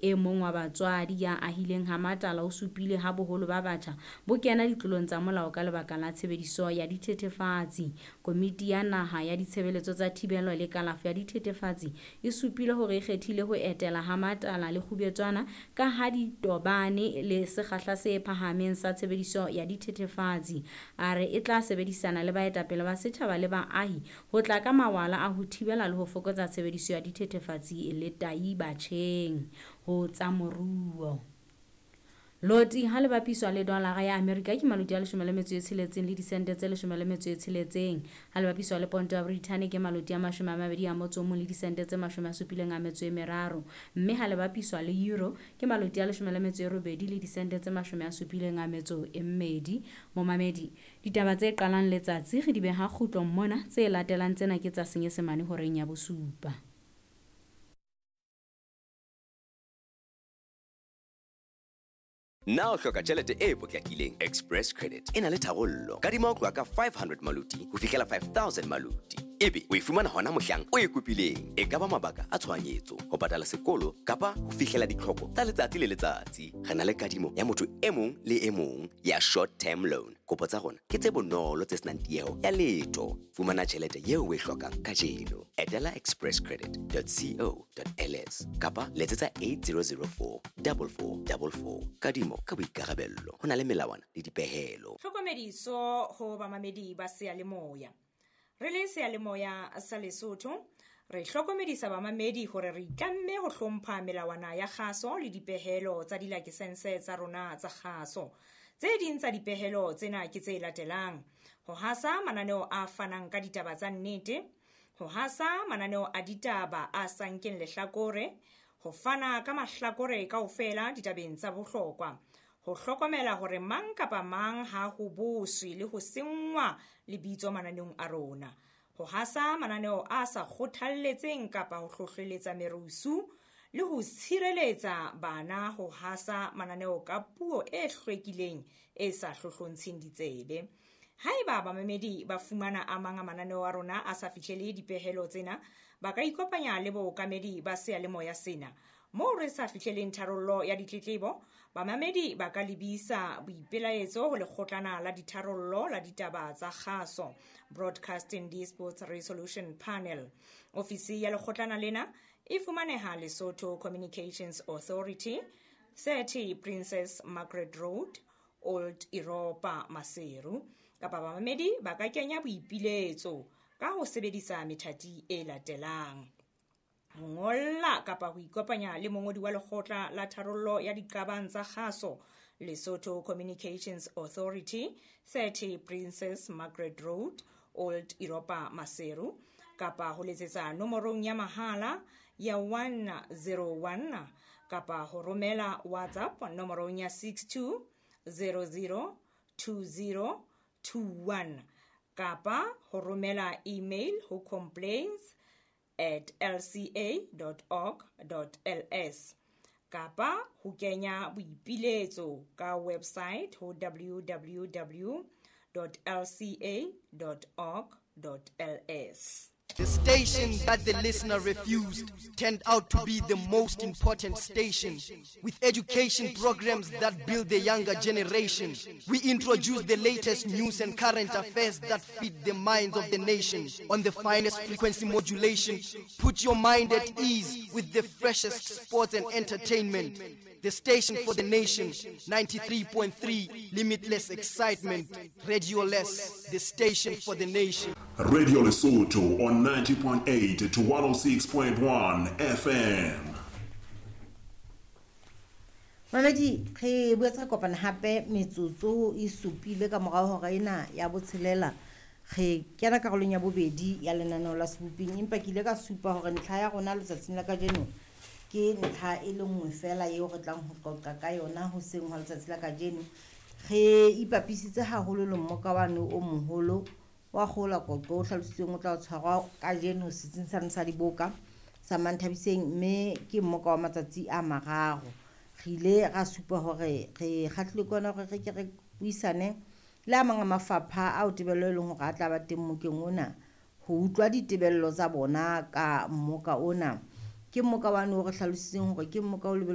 E mong wa batswadi ya ahileng ha Matala o supile ha boholo ba batjha bo kena ditlolong tsa molao ka lebaka la tshebediso ya dithethefatsi. Komiti ya Naha ya Ditshebeletso tsa Thibelo le Kalafo ya Dithethefatsi e supile hore e kgethile ho etela ha Matala le Kgubetswana ka ha di tobane le sekgahla se phahameng sa tshebediso ya dithethefatsi. A re e tla sebedisana le baetapele ba setjhaba le baahi ho tla ka mawala a ho thibela le ho fokotsa tshebediso ya dithethefatsi le tai batjheng. Ho tsa moruo. Loti ha le bapiswa le dolara ya Amerika ke maloti a 16 le disente tse 16. Ha le bapiswa le ponto ya Britain ke maloti a 21 le disente tse 73. Mme ha le bapiswa le euro ke maloti a 18 le disente tse 72. Momamedi, ditaba tse qalang letsatsi re di beha kgutlong mona, tse latelang tsena ke tsa Senyesemane horeng ya bosupa. Na o hloka tjhelete e potlakileng? Express Credit e na le tharollo. Kadima ho tloha ka 500 maloti ho fihlela 5000 maloti. Ebe o e fumana hona mohlang o e kopileng. E ka ba mabaka a tshohanyetso, ho patala sekolo kapa ho fihlela ditlhoko tsa letsatsi le letsatsi. Re na le kadimo ya motho e mong le e mong ya short term loan. Kopo tsa rona ke tse bonolo tse senang tieho ya letho. Fumana tjhelete eo o e hlokang kajeno. Etela expresscredit.co.ls kapa letsetsa 8004 4444. Kadimo ka boikarabello. Ho na le melawana le dipehelo. Tlhokomediso ho bamamedi ba seyalemoya. Re le seyalemoya sa Lesotho, re hlokomedisa bamamedi hore re itlamme ho hlompha melawana ya kgaso le dipehelo tsa dilakesense tsa rona tsa kgaso. Tse ding tsa dipehelo tsena ke tse latelang: ho hasa mananeo a fanang ka ditaba tsa nnete, ho hasa mananeo a ditaba a sa nkeng lehlakore, ho fana ka mahlakore kaofela ditabeng tsa bohlokwa, ho hlokomela hore mang kapa mang ha ho boswe le ho senngwa lebitso mananeong a rona, ho hasa mananeo a sa kgothalletseng kapa ho hlohleletsa merusu, le ho tshireletsa bana ho hasa mananeo ka puo e hlwekileng e sa hlohlontsheng ditsebe. Haeba bamamedi ba fumana a mang a mananeo a rona a sa fihlele dipehelo tsena, ba ka ikopanya le bookamedi ba seyalemoya sena. Moo re sa fihleleng tharollo ya ditletlebo, bamamedi ba ka lebisa boipelaetso ho lekgotlana la ditharollo la ditaba tsa kgaso, Broadcasting Disputes Resolution Panel. Ofisi ya lekgotlana lena e fumaneha Lesotho Communications Authority, 30 Princess Margaret Road, Old Europa, Maseru. Kapa bamamedi ba ka kenya boipiletso ka ho sebedisa methati e latelang: ho ngolla kapa ho ikopanya le mongodi wa lekgotla la tharollo ya diqabang tsa kgaso, Lesotho Communications Authority, 30 Princess Margaret Road, Old Europa, Maseru, kapa ho letsetsa nomorong ya mahala ya 101 kapa ho romela WhatsApp nomorong ya 62 00 20 21 kapa ho romela email ho complaints@lca.org.ls kapa ho kenya boipiletso ka website ho www.lca.org.ls. The station that the listener refused turned out to be the most important station. With education programs that build the younger generation, we introduce the latest news and current affairs that feed the minds of the nation. On the finest frequency modulation, put your mind at ease with the freshest sports and entertainment. The station for the nation, 93.3, limitless excitement. Radio Less, the station for the nation. Radio Lesotho on 90.8 to 106.1 FM. Mamedi, re boetse re kopana hape metsotso e supile ka morao hora ena ya botshelela. Re kena karolong ya bobedi ya lenaneo la Seboping, empa ke ile ka supa hore ntlha ya rona letsatsing la kajeno ke ntlha e le nngwe fela eo re tlang ho qoqa ka yona hoseng hwa letsatsi la kajeno. Re ipapisitse haholo le mmoka wane o moholo wa kgola qoqo o hlalositsweng o tla tshwarwa kajeno setsing sa diboka sa Manthabiseng, mme ke mmoka wa matsatsi a mararo. Re ile ra supa hore re kgahlile ke yona hore re ke re buisane le a mang a mafapha ao tebello e leng hore a tla ba teng mmokeng ona, ho utlwa ditebello tsa bona ka mmoka ona. Ke mmoka wane o re hlalositseng hore ke mmoka o lebelletsweng